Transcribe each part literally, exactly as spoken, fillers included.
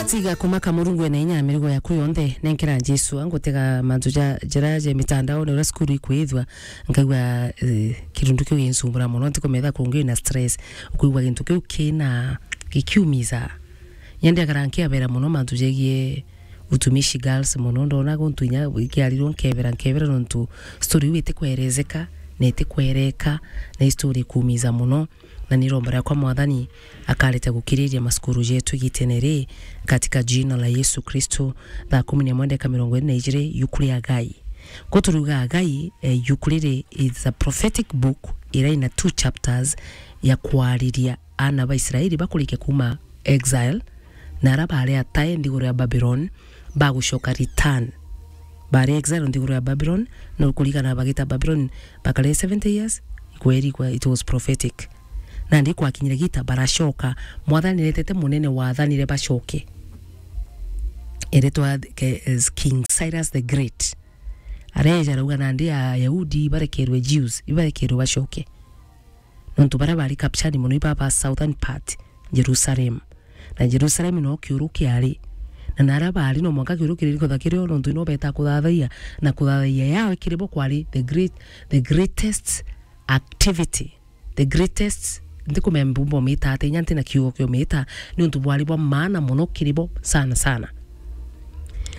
Tiga kumaka, Murungu ena inya ya mirigo yaku yonthe. Nenkera Jesu, angutega mantu ja, jira ja mitandaone, uria cukuru ikwithwa, nkaigua, eh, kirundu kiu ginsumbura mono, ntikumetha kungi na stress, ukwigua gintu kiu kina, gikiumiza. Nyende akara nkiabera mono mantu jegie utumishi girls mono, ndona guntu inya ikiarirwo nkebera, nkebera nontu story iu itikwerezeka, na itikwereka, na i story ikuumiza mono. Na ni iromba riakwa Mwathani akareta gukiriria macukuru jetu igitene ri, katika jina la Yesu Kristo. Thaa kumi na imwe ndeka mirongo iri na ijiri, yuku ria Agai. Ko turuga Agai, eh, yuku riri is a prophetic book ira ina two chapters ya kwariria aana ba Israeli bakurikia kuuma exile, na ara bari atae nthiguru ya Babylon, bagucoka return. Bari exile nthiguru ya Babylon, na kurigana bagita Babylon, bakare seventy years, kweri kwa, it was prophetic. Nandi kwakinyire gita baracoka, Mwathani aretete munene wathanire bacoke. Eretwa ke-, is King Cyrus the Great. Areja arauga nandi Ayahudi ibarekerwe Jews, ibarekerwe bacoke. Nontu baria bari captured mono iba ba southern part, Jerusalem. Na Jerusalem no kiuru kiari. Na naria bari no mwanka kiuru kiri kutha kirio, nontu no beta kuthathaia, na kuthathaia yao kiri bo kwari the great, the greatest activity, the greatest, ntikumenya mbumba umita atia, inya ntina kiugo kia umita, niuntu bwari bwa maana mono kiri bo sana sana.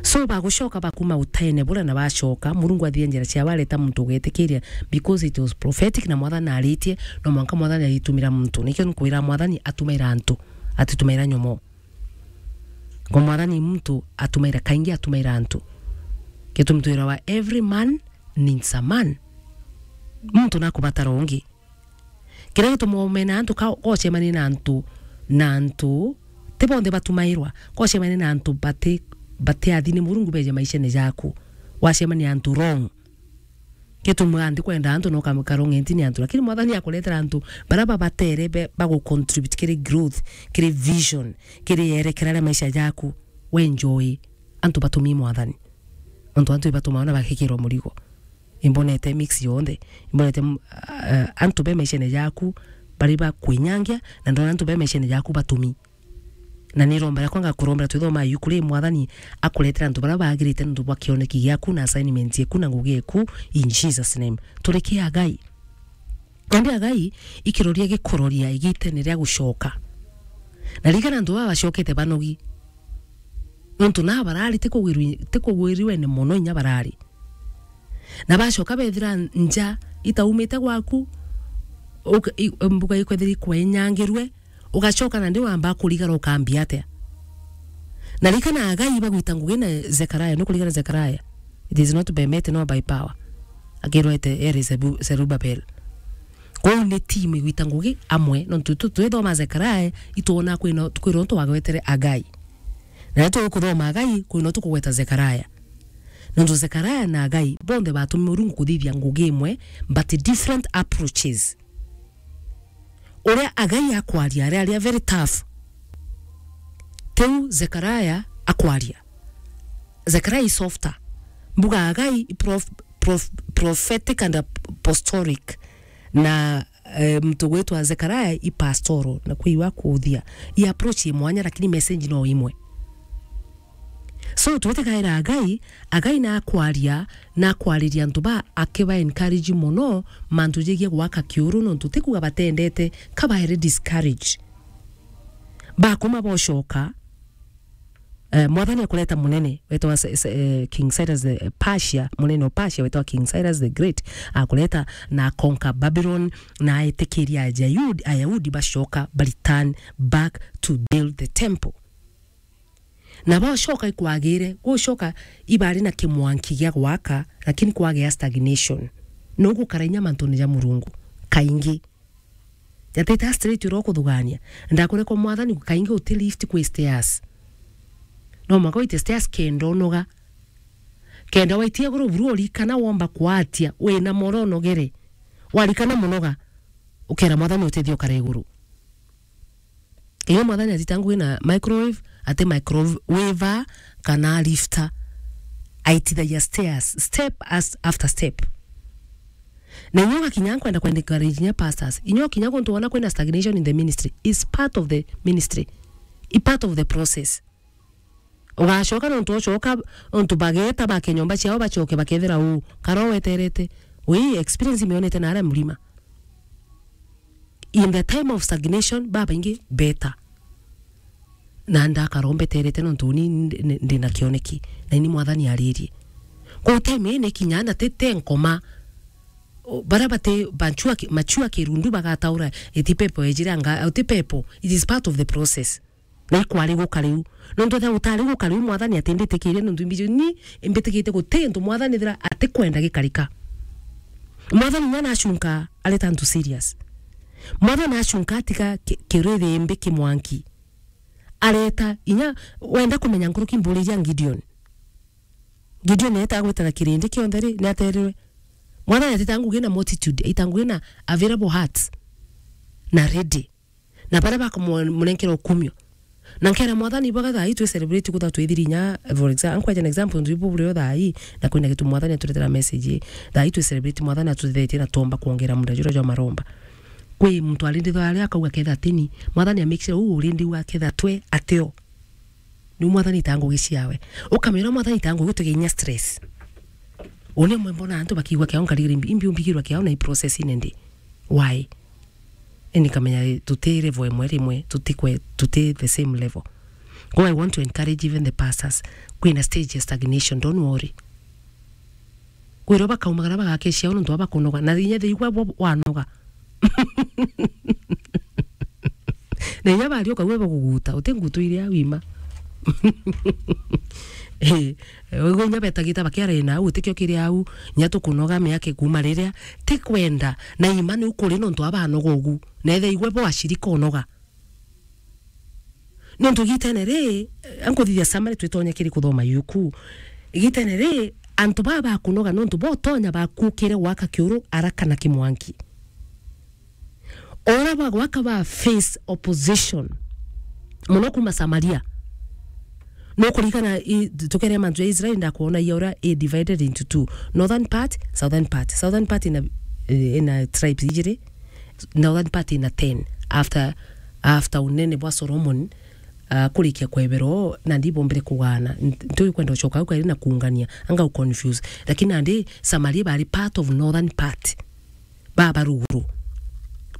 So, bagucoka bakuma utene buria na bacoka, Murungu athithia njira ciao, areta muntu ugetikiria, because it was prophetic, na Mwathani aritie, no mwanka Mwathani aritumira muntu. Nikio nkwira Mwathani atumaira antu, atitumaira nyomo. Ngo Mwathani muntu atumaira, kaingi atumaira antu. Gitumi twirawa, every man needs a man. Muntu nakubatara ungi. Kiria gituma umena antu ka, ka ucemania na antu, na antu, ti bonthe batumairwa. Ka ucemania na antu bati, bati athi ni Murungu beje maishene jaku. Wacemania antu wrong. Gituma nthi kwenda antu no kamwe ka wrong entini antu. Lakini Mwathani akuretera antu bara babatere be, bagu contribute kiri growth, kiri vision, kiri yerekera ria maisha jaku. We enjoy. Antu batumi Mwathani. Antu, antu ibatuma ona bakikirwa murigo. Imbonete mix yonthe. Imbonete, mm, ah, antu be maishene jaku bari ba kwinyangia, na ndona antu be maishene jaku batumi. Na ni romba riakwa ngakurombera twithoma yuku ri Mwathani akuretera antu bara bagirite nontu bwa kioneki giaku na assignment yeku na ngugi yeku in Jesus name. Turikia Agai. Nandi Agai ikiroria gikuroria igitene ria gucoka. Na ririkana antu baba bacokete banogi. Nontu na barari ti kugwirwi-, ti kugwiriwe ni mono inya barari. Na bacoka bethira nja itaumite gwaku, uka-, i-, mbuga ikwethira ikwenyangirwe, ugacoka nandi wamba kurigara ukambia atia? Na ririkana Agai bagwita ngugi na Zekaria, nukurigana Zekaria? It is not by might nor by power. Akirwete ere Zebu-, Zerubabel. Kwou ni team igwita ngugi amwe, nontu tu-, twithoma Zekaria, itwona kwina, kwina untu wagwetere Agai. Na riria tukuthoma Agai, kwina untu kugweta Zekaria. Nontu Zekaria na Agai, bonthe batumi Murungu kuthithia ngugi imwe, but different approaches. Uria Agai akwaria, ari, ari a very tough. Tiu Zekaria akwaria. Zekaria i softer. Mbuga Agai i prof-, prof-, prophetic and apostolic. Na, eh, muntu gwitwa Zekaria i pastoral, na kwi iwa kuthia. I approach i mwanya, lakini message no imwe. So, twite kaira Agai, Agai nakwaria, nakwariria antu ba, akiba encourage mono, mantu jegie gwaka kiuru, nontu ti kuga batendete, kabaere discourage. Bakuma bocoka, eh, Mwathani akureta munene, wetwa Se-, Se-, eh, King Cyrus the, eh, Persia, munene wa Persia, wetwa King Cyrus the Great, akureta na conquer Babylon, na aitikiria Ayahudi, Ayahudi bacoka, ba return back to build the temple. Na bocoka ikwagire, gucoka ibari na kimwanki gia gwaka, lakini kwagea stagnation. No gukara inya mantune ja Murungu, kaingi. Jatite straight uro kuthugania. Ndakure kwa Mwathani, kaingi uti lift kwi stairs. No mwaka uite stairs kenda unoga. Kenda waitia iguru buru urikana womba kwatia, wina moro unogere. Warikana munoga, ukera Mwathani utethio ukare iguru. Iyo Mwathani atita ngugi na microwave, ati microwave kana lifter. Aitithagia stairs, step as, after step. Na inyo gakinya nkwenda kwenda encourage inya pastors. Inyo kinya guntu wona kwina stagnation in the ministry is part of the ministry. I part of the process. Ugacoka nontu ocoka, nontu bageta bake nyomba ciao bacoke bakethira uu. Kara weterete. Wi experience mionete na aria mlima. In the time of stagnation, babaingi beta. Na ndakara mbeterete nontu uni ndi, ndi, ndi na kioneki. Na ini Mwathani aririe. Kwa time ii ni kinya na ti, ti nkoma. O, baria bati bachua ki-, machua kirundu bagataura, iti pepo ejire anga, uti pepo. It is part of the process. Na ikwari guka riu. Nontu ethira utari guka riu, Mwathani ati mbitikirie nontu imbiji ni imbitikite guti ntu Mwathani ethira atikwenda gikarika. Mwathani inya nacunka areta antu serious. Mwathani acunka atiga ki-, kirithimbi ki mwanki. Areta inya wenda kumenya nkuruki mburiria Gideon. Gideon eeta agwita na kirindi kionthe ri, ni aterirwe. Mwathani atita ngugi na multitude, aita ngugi na available hearts na ready. Na baria bakumunenkera ukumio. Na nkera Mwathani, ibaga thaa ii twi celebrate kutha twithiri inya, for example, nkweja an example, ntu ibu burio thaa ii, na kwina gitu Mwathani aturetera message ii. Thaa ii twi celebrate Mwathani atutethetie na tuomba kwongera muda juria jwa maromba. Kwi muntu arindithwa aria akauga ketha atini, Mwathani a make sure uu urindi uu aketha twe ateo. Ni Mwathani ta ngugi ciawe. Ukamira Mwathani ta ngugi tuge inya stress. Une mwe mbona antu bakigwa kiao nkarigiri imbi, imbi umbigirwa kiao na i process ine ndi. Why? Eni kamenya tuti level imwe rimwe, tuti kwe, tuti the same level. Go, I want to encourage even the pastors. Kwina stage ya stagnation, don't worry. Kwirwo bakaumagara bagake ciao nontu wa bakunoga. Na inya thigwa bo wanoga. Na inya bari ukauga baguguta, uti ngutu iria wima. Eh, ugu inya betagita bakiara ina au, utikio kiri au, inya tukunoga miaka kuma riria, ti kwenda, na ima ni ukuri nontu abanoga ugu. Na ethe igwe bo ashirika unoga. Nontu igitene ri, eh, ankuthithia summary twitonya kiri kuthoma yuku. Igitene ri, antu baa bakunoga nontu botonya bakukire gwaka kiuru araka na kimwanki. Ora bagwaka ba face opposition. Muno kuma Samaria. No kurikana i, tukere mantu ya Israel ndakwona ya ura i divided into two. Northern part, southern part. Southern part ina, eh, ina tribes ijiri. Northern part ina ten. After, after unene bwa Solomon, ah, kurikia kwebero, nandi bombire kugana. Ntu kwenda ucoka au kairi na kuungania. Anga u confuse. Lakini nandi Samaria bari part of northern part. Baba ruguru.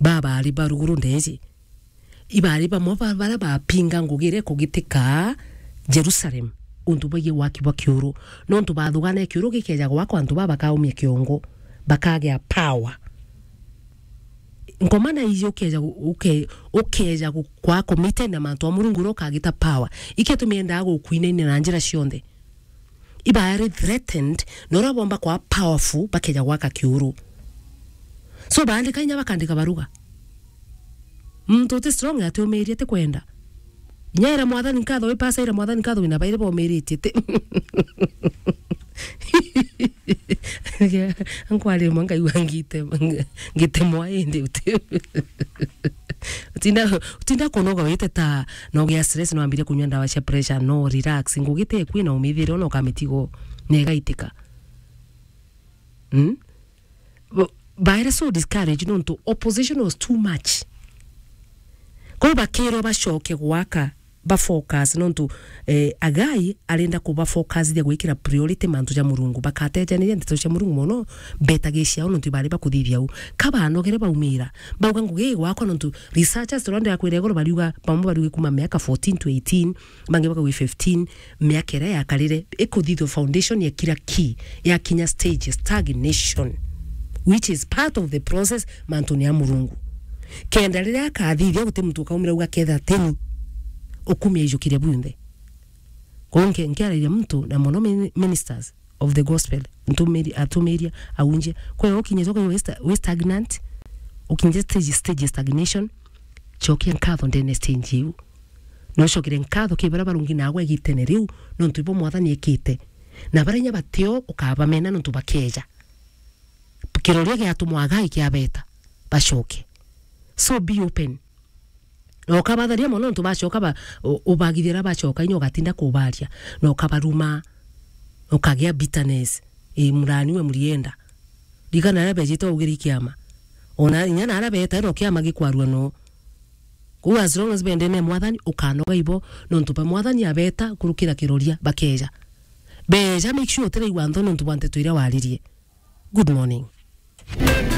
Baba ari ba ruguru ndeji. Ibari bamwe ba, baria bapinga ngugi iria ikugitika Jerusalem, untu bwigii waki bwa kiuru. Nontu bathugana kiuru gikeja gwakwa, antu baa bakaumia kiongo, bakagea power. Ngoma na iji ukeja gu-, uke-, ukeja gu-, kwa committed na mantu a Murungu uria ukagita power. Ike tumiendaa gukwinaina na njira cionthe. Ibaari threatened, na uria bomba kwa powerful, bakeja gwaka kiuru. So, baandika inya bakandika baruga. Muntu uti strong ati umiirie ti kwenda. Inya ira Mwathani nkatho, wi pastor ira Mwathani nkatho, wina bairi baumiritie ti. Nkwari mwa ngaigua ngite, ngitemwa indi uti. Utinda, utinda kunoga wite ta, no gia stress, no ambire kunywa ndawa cia pressure, no relax. Ngugi ti ekwi na umithire, ona ukamitigo, na igaitika. Mm? Bo-, baere so discouraged nontu opposition was too much. Kwou bakirwa bacoke gwaka, ba focus nontu, eh, Agai arenda kuba focusithia gwikira priority mantu ja Murungu. Bakatejaniria ndeto cia Murungu mono, betagia ciao nontu ibari bakuthithia u. Ka banogere baumira, bauga ngugi ii gwakwa nontu researchers turia ndakwira iguru bariuga, bamwe bariuga kuma miaka fourteen to eighteen, bangi bakauga fifteen, miaka iria yakarire ikuthithua foundation ya kira ki, yakinya stage ya stagnation, which is part of the process mantuni ya Murungu. Kenda riria akathithia guti muntu ukaumira uga ketha teni ukumia ijukiria bunthe. Kwou nke-, nkiarairia muntu na mono mini-, ministers of the gospel, ntumiri-, atumiria, aunjia. Kwe ukinyite ukaigua wi sta-, wi stagnant, ukinyite stage, stage ya stagnation, cokia nkatho ndene stage iu. Na ucokere nkatho ki baria barungi nagwe igitene riu, nontu ibo Mwathani ekite. Na baria inya batio ukabamena nontu bakeja. Kiroria giatumwa Agai kiabeta, bacoke. So be open. Na ukabatharia mono nontu bacoka ba-, u-, ubagithira bacoka inya ugatinda kubaria. Na ukabaruma, ukagia bitterness. Ii, murani we murienda. Ririkana aria bejite ugiri kiama. Ona inya na aria beta no kiama gikwarua no. Kou as long as bendene mwathani, ukanoga ibo, nontu ba mwathani abeta kurukira kiroria, bakeja. Beja, make sure utiraigua ntho nontu bwa nteto iria waririe. Good morning.